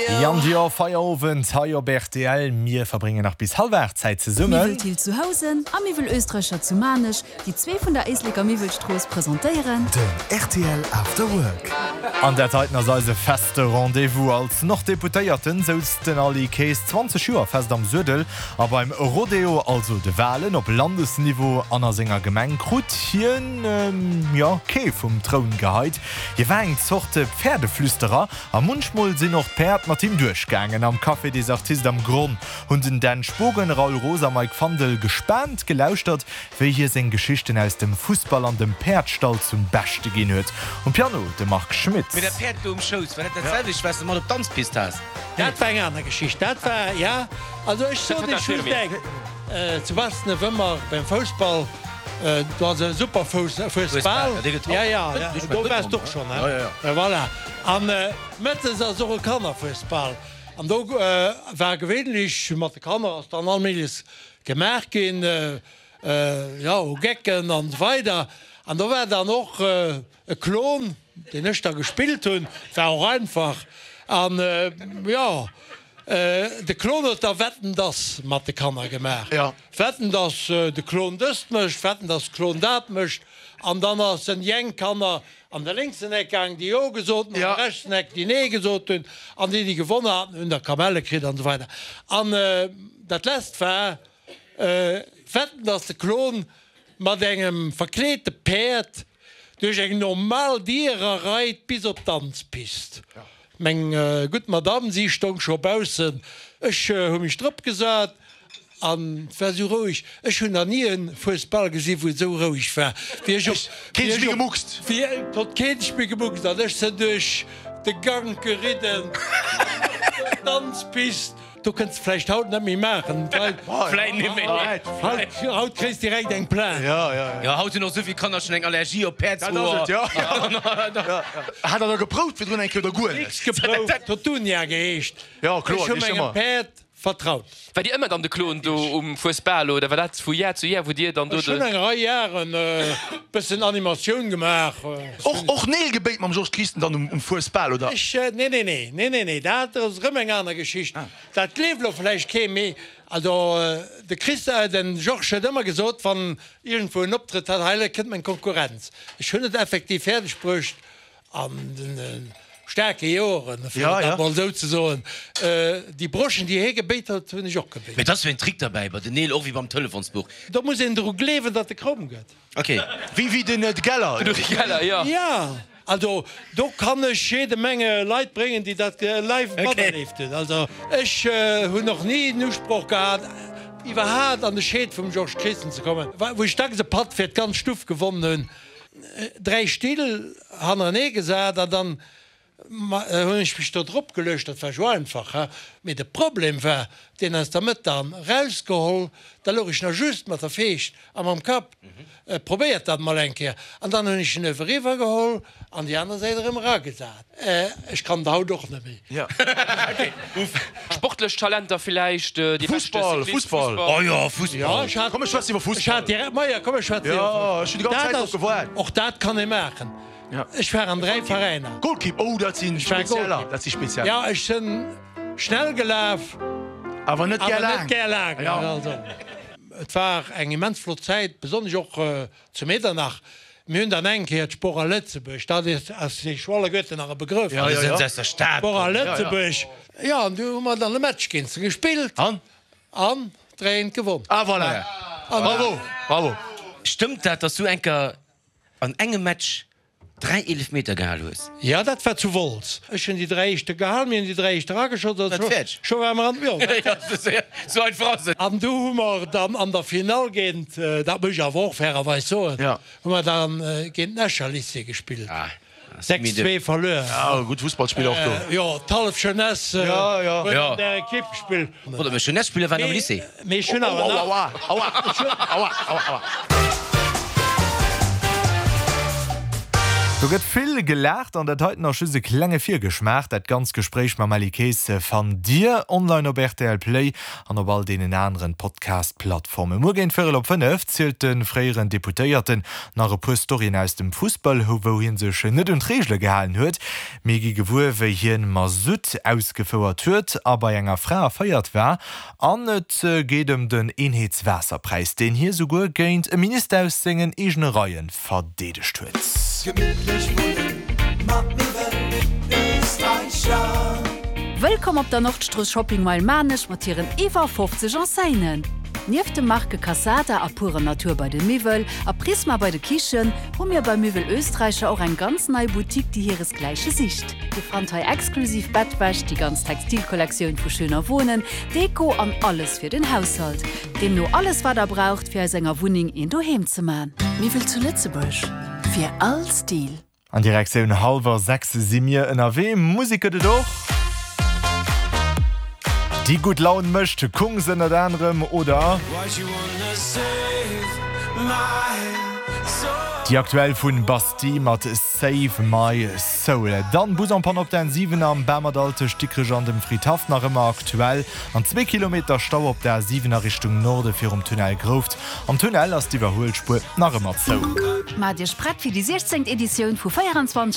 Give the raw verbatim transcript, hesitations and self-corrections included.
Ian Dior, Feierowend hei op rtl. Mir verbréngen nach bis hallwer aacht Zäit zesummen. Miwwel Thill zu Housen a Miwwel Oestreicher zu Maarnech, déi zwee vun der Éisleker Miwwelstrooss presentéieren. Den rtl After Work. An dat heiten ass eise feste Rendez-vous. Als Norddeputéierten souz den Aly Kaes zwanzeg Joer fest am Suedel a beim Rodeo, also de Walen op Landesniveau an a senger Gemeng, krut hien, jo, kee vum Troun geheit. Hie war eng Zort Pferdeflüsterer a munchmol sinn och d'Päerd mat him duerchgaangen. Am Café des Artistes am Gronn hunn den Dan Spogen, Raoul Roos a Mike Fandel gespaant gelauschtert, wéi hie seng Geschichten aus dem Fussball an dem Päerdstall zum Beschte ginn huet. Um Piano de Marc Schmitz. Mee dat Päerd do um Schouss, war dat dat selwecht, wat s de mat op d'Danzpist has? Dat war eng aner Geschicht. Dat war, ja, also ech soen Iech just eng, zu Bastenew ëmmer beim Foussball, do ass e super Foussball, ja, ja, do waars de och schonn, he? Voilà. An mëttes ass och e Kannerfuesbal. An do war gewéinlech mat de Kanner ass dann all Méigleches gemaach ginn, jo, u Gecken an esou weider. An do war dann och e Klon, deen ech da gespillt hunn, war och einfach. An, jo, de Klon huet da Wetten, dass mat de Kanner gemaach. Wetten, dass de Klon dëst mécht, wetten, dass de Klon dat mécht. An dann ass en déi eng Kanner an de lénksen Eck gaang, déi Jo gesot hunn, an de rechtsen Eck, déi Nee gesot hunn. An déi, déi gewonnen haten, hunn da Kamelle kritt an esou weider. An dat lesst war, Wetten, dass de Klon mat engem verkleete Päerd duerch eng normal Dier ereit bis op d'Danzpist. Meng gutt Madame, si stong scho baussen. Ech hu mech drop gesat an et war esou roueg. Ech hunn nach ni e Fuesbal gesi wou et esou roueg war wéi ech op. Keen sech méi gemuckst. Wéi et huet keen sech méi gemuckst an ech sinn duerch de Gank geridden op d'Danzpist. Do kënns de vläicht haut net méi maachen. Vläit net méi, nee. Haut, haut kréis direkt eng Plainte. Ja, ja, ja. Haut hunn och souvill Kanner schonn eng Allergie op Päerdshoer. Dat ass et, jo. Hat der da geprouft virdrun eng Kéier oder guer net? Nix geprouft. Et huet Dunja geheescht. Jo, kloer, Ech hu mengem Päerd vertraut. War Dir ëmmer dann de Klon do um Fuesbal oder war dat vu Jar zu Jar, wou Dir dann do Ech hunn de. eng Rei Jaren e bëssen Animatioun gemaach. Och, och Neel gebéit mam Georges Christen dann um Fuesbal, oder? Ech, nee, nee, nee, nee, nee, nee, dat ass erëm eng aner Geschicht. Dat gleeft elo vläicht kee, mee also de Chris, den Georges huet ëmmer gesot, wann iergendwou en Optrëtt hat, hei kënnt meng Konkurrenz. Ech hunn et effektiv fäerdeg bruecht an de staarke Joren, fir et dat mol esou ze soen, déi Broschen, déi hie gebéit huet, hunn ech och gebéit. Mee et ass jo en Trick derbäi bei den Neel, och wéi beim Telefonsbuch. Do muss een dru gleewen, datt e kromm gëtt. Ok. Wéi wéi den Geller. Den Uri Geller, jo. Jo. Also do kann ech jede Menge Leit bréngen, déi dat live materlieft hunn. Also ech hunn och ni den Usproch gehat, iwwerhaat an de Scheed vum Georges Christen ze kommen. Wou ech dacks e Patt fir d'ganz Stuff gewonnen hunn, dräi Still hannerenee gesat an dann hunn ech mech do drop geluecht. Dat war jo einfach, he. Mee de Problem war, deen aus der Mëtt dann rausgeholl, da louch ech nach just mat der Feescht a mam Kapp. Probéiert dat mol eng Kéier. An dann hunn ech en Öwe riwwer geholl an déi aner Säit erëm eragesat. Ech kann et haut och net méi. Sportlech Talenter villäicht, déi beschte Fussball, Cyclist, Fussball. Fussball. Oh jo, Fussball. Jo, ech hat, Komm, ech schwätzen iwwer ech Fussball. hat direkt, majo, komm, ech schwätzen iwwer Jo, Fussball. ech hunn déi ganz Dat Zäit drop ass, gewaart. och dat kann ee maachen. Ech war an dräi Veräiner. Goalkeep, oh, dat si Ech war Spezieller, Goalkeep. dat si Spezieller. Jo, ech sinn schnell gelaf, Awer net gär awer laang. net gär laang. Jo. Also. Et war eng immens flott Zäit, besonnesch och zu Medernach. Mir hunn dann eng Kéier d'Spora Lëtzebuerg, dat ass Iech alleguerten nach e Begrëff, Spora Lëtzebuerg, jo, an du hu mer dann e Match géint se gespillt an dräi eent gewonn. Ah voilà, bravo, bravo. Stëmmt dat, dass du enker an engem Match Dräi Eelefmeter gehal hues? Jo, dat war zu Wolz. Ech hunn déi dräi éischte gehal, mir hunn déi dräi éischt erageschoss a scho ware mer an, jo, Sou einfach ass et. An du hu mer dann an der Finall géint, dat muss ech awer och fairerweis soen, hu mer dann géint den Escher Lycée gespillt. Sechs zwee verluer. Jo, gutt Fussballspiller och do. Jo, d'hallef Jeunesse huet an där Ekipp gespillt. Warte, mä Jeunesse-Spiller waren am Lycée. Mee ech hunn awer nach. Aua, aua, aua, aua, aua. Do gëtt vill gelaacht an dat heiten ass just e klenge Virgeschmaach. Dat ganzt Gespréich mam Aly Kaes fannt Dir online op rtl Play an op all deenen aneren Podcast-Plattformen. Muer géint Véierel op fënnef zielt de fréieren Deputéierten nach e puer Storyen aus dem Fussball, wou hie sech net un d'Reegele gehalen huet. Mir gi gewuer, wéi hien Masutt ausgefouert huet a bei enger Fra erféiert war. An et geet ëm den Eenheetswaasserpräis, deen hie souguer géint e Minister aus sengen eegene Reie verdeedegt huet. Gemittlech wunnen mat Miwwel Österreicher. Wëllkomm op der Nordstrooss Shopping Mile Maarnech mat hiren iwwer fofzeg Enseignen! Nieft de Marke Cassada a Pure Natur bei de Miwwel a Prisma bei de Kichen, hu mir bei Miwwel Österreicher och eng ganz nei Boutique, déi hiresgläiche sicht. Dir fannt hei exklusiv Bettwäsch, déi ganz Textilkollektioun vu Schöner Wohnen, Deko an alles fir den Haushalt. Deemno alles wat der braucht fir aus enger Wunneng een Doheem ze man. Miwwel zu Lëtzebuerg, fir all Stil. An Direktioun hallwer sechs si mir ënnerwee. Musek gëtt et och. Déi gutt Laun mécht, Kungs ënnert anerem oder déi aktuell vun Bastille mat Save My Soul. Dann Bus en panne op der N siwen am Bamerdall tëscht Dikrech an dem Fridhaff nach ëmmer aktuell an zwee Kilometer Stau op der A siwen a Richtung Norde virum Tunnel Grouft. Am Tunnel ass d'Iwwerhuelspuer nach ëmmer zou. Maacht Iech prett fir déi siechzéngt Editioun vu véierundzwanzeg